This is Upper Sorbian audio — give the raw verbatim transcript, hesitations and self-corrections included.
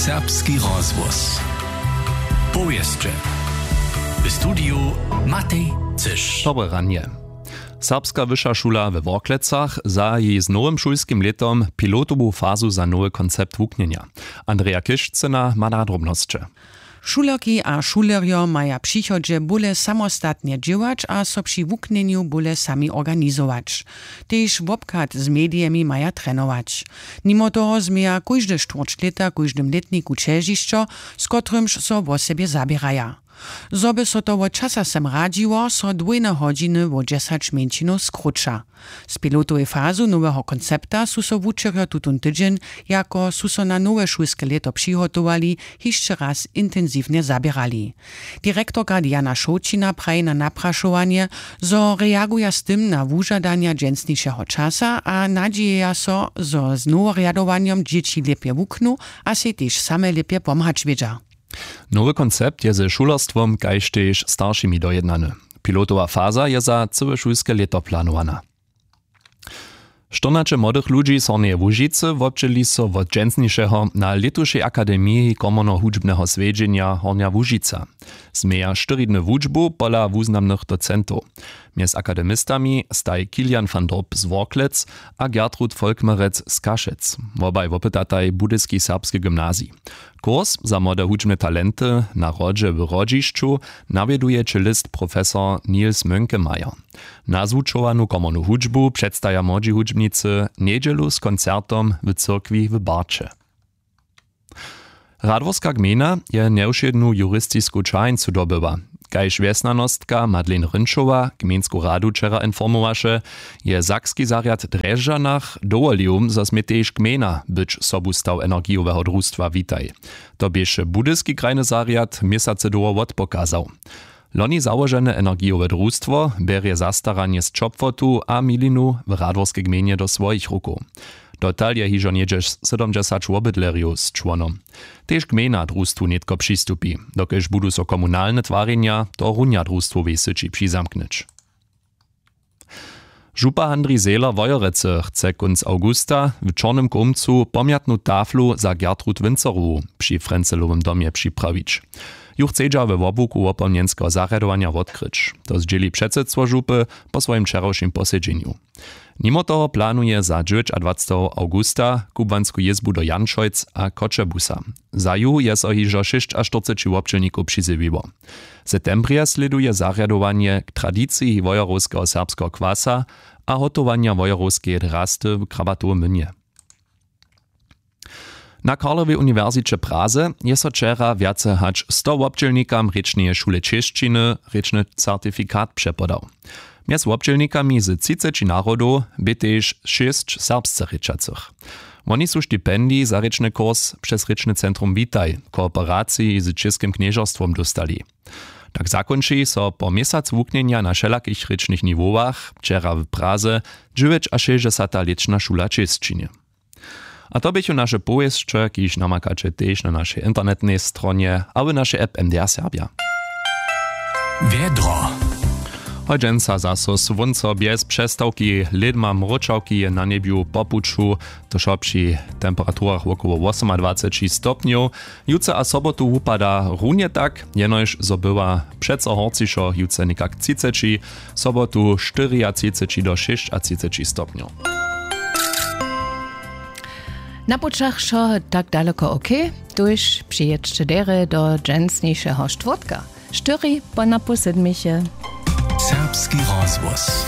Serbski rozhłos. Powěsće. W studiju Matej Cyš. Dobre ranje. Serbska wyša šula we Worklecach zahaji z nowym šulskim lětom pilotowu fazu za nowy koncept wuknjenja. Andreja Kišcyna ma nadrobnosće. Šulerki a šulerjo maja w přichodźe bóle samostatnje dźěłać a so při wuknjenju bóle sami organizować. Tež wobchad z medijemi maja trenować. Nimo toho změja kóžde štwórć lěta w kóždym lětniku ćežišćo, z kotrymž so wosebje zaběraja. Zo by so to wot časa sem radźiło, so dwójne hodźiny wo dźesać mjeńšinow skróća. Z pilotowej fazu noweho koncepta su so wučerjo tutón tydźeń, jako su so na nowe šulske lěto přihotowali, hišće raz intensiwnje zaběrali. Direktorka Diana Šołćina praji na naprašowanje, zo reaguja z tym na wužadanja dźensnišeho časa a nadźijeja so, zo z noworjadowanjom dźěći lěpje wuknu a sej tež same lěpje pomhać wědźa. Nowy koncept je ze šulerstwom kaž tež staršimi dojednany. Pilotowa faza je za cyłe šulske lěto planowana. Štyrnaće młodych ludźi z Hornjeje Łužicy wobdźěli so wot dźensnišeho na lětušej akademiji komornohudźbneho swjedźenja Hornja Łužica. Změja štyri dny wučbu pola wuznamnych docentow. Mjez akademistami staj Kilian van Dorp z Worklec a Gertrud Volkmerec z Kašec. Wobaj wopytataj Budyski serbski gymnazij. Kurs za młode hudźbne talenty na hrodźe w Hrodźišću nawjeduje čelist profesor Niels Mönkemeyer. Nazwučowanu komornu hudźbu předstaja młodźi hudźbnicy njedźelu z koncertom w cyrkwi w Barće. Radworska gmejna je njewšědnu juristisku ćaheńcu dobyła. Kaž wjesnjanostka Madeleine Rynčowa gmejnsku radu wčera informowaše, je sakski zarjad w Drježdźanach dowolił, zo smě tež gmejna być sobustaw energijoweho drustwa Witaj. To běše budyski krajny zarjad měsacy dołho wotpokazał. Loni załožene energijowe drustwo bjerje zastaranje z ćopłotu a milinu w Radworskej gmejnje do swojich rukow. Dotal je hižo něhdźe sydomdźesać wobydlerjow z čłonom. Tež gmejna drustwu nětko přistupi, dokelž budu so komunalne twarjenja tohorunja drustwowej syći přizamknyć. Župa Handrij Zehler Wojerecy chce kónc awgusta w Čornym Kołmcu pomjatnu taflu za Gertrud Wincerowu při Frencelowym domje připrawić. Ju chcedźa we wobłuku wopomnjenskeho zarjadowanja wotkryć. To zdźěli předsydstwo župy po swojim wčerawšim posedźenju. Nimo toho planuje za dźewjećadwaceteho awgusta kubłansku jězbu do Janšojc a Choćebuza. Za ju je so hižo šěsćaštyrceći wobdźělnikow přizjewiło. W septembrje slěduje zarjadowanje k tradiciji wojerowskeho serbskeho kwasa a hotowanja wojerowskeje drasty w Krabatowym młynje. Na Karlowej uniwersiće w Praze je so wčera wjace hač sto wobdźělnikam rěčneje šule čěšćiny rěčny certifikat přepodał. Mjez wobdźělnikami z třiceći narodow bě tež šěsć serbsce rěčacych. Woni su stipendij za rěčny kurs přez rěčny centrum Witaj w kooperaciji z Čěskim knježerstwom dóstali. Tak zakónči so po měsac wuknjenja na wšelakich rěčnych niwowach wčera w Praze dźewjećašěsćdźesata lětšna šula čěšćiny. A to běchu naše powěsće, kiž namakaće tež na našej internetnej stronje a w našej app M D R Serbja. Wjedro. Hodźensa zaso słónco bjez přestawki, lědma mróčawki je na njebju po puću, to wšo při temperaturach wokoło wosomadwaceći stopnjow. Jutře a sobotu wupada runje tak, jenož zo bywa přeco horcišo, jutře někak třiceći, sobotu štyriatřiceći do šěsćatřiceći stopnjow. Na pućach wšo tak daleko ok, tuž přijědźće derje do dźensnišeho štwórtka, štyri po napoł sydmiche. Serbski rozhłos.